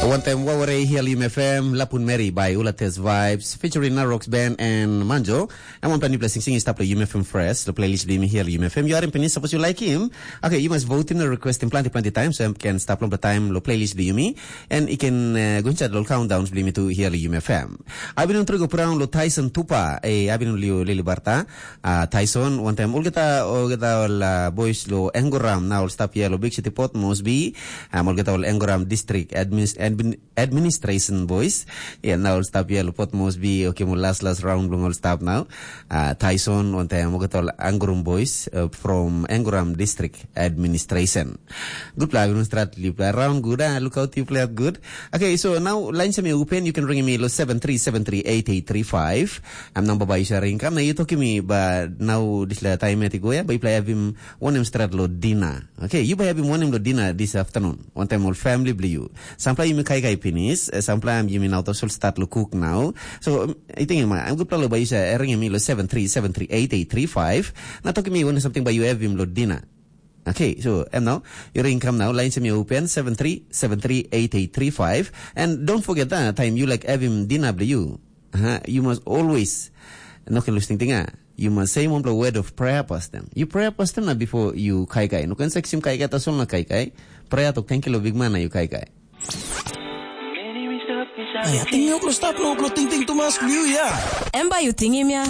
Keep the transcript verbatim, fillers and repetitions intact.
Wantaim waware hial U M F M, Lapun Mary by Ulates Vibes, featuring Narox Band and Manjo. Em wanpela nipela singsing i stap lo U M F M Fresh, lo playlist bilong yumi hial U M F M. Yu harim pinis, sapos yu like him, okay, yu mas votim na requestim planti planti time, so em ken stap longpela time lo playlist bilong yumi, and i ken uh, go inside lo countdowns bilong yumi tu hial U M F M. Abin un trigo praun lo Tyson Tupa, eh, abin un liu lili barta, uh, Tyson, wantaim ulgeta, ulgeta ol uh, boys lo Engoram, na ol stap hial lo Big City Port Moresby, um, ulgeta ol Engoram District Admin, Admin, Administration Boys. Ya, na ol stap ya lupot mos bi, okay, mo last last round bilong ol stap now. Uh, Tyson, on time, mo katol Angurum Boys uh, from Angurum District Administration. Good play, Angurum Strat, you play around good, ah, look out, you play out good. Okay, so now lines me open, you can ring me lo seven three seven three eight eight three five. I'm number by Isha Ringkam. Now you talking me, but now this la time at go ya, but you play have him one him strat lo dinner. Okay, you by have him one him lo dinner this afternoon. One time all family blue you. Sampla yumi kaikai pinis, eh, sampla am yumi nau tasol start lo cook now. So, um, I think ma, I'm good palo ba yusa ring mi lo seven three seven three eight eight three five. Na toki mi wana something ba you have him lo dinner. Okay, so em now, your income now, line semi open seven three seven three eight eight three five. And don't forget that time you like have him dinner blue you. Uh-huh. You must always, no can lose thing, ah. You must say one word of prayer past them. You prayer past them na before you kaikai. No can sex him kaikai tasol na kaikai. Prayer to thank you lo big man na you kaikai. Ai, ating yuk lo stap lo lo ting ting tumas liu ya. Em bai yu tingim ya.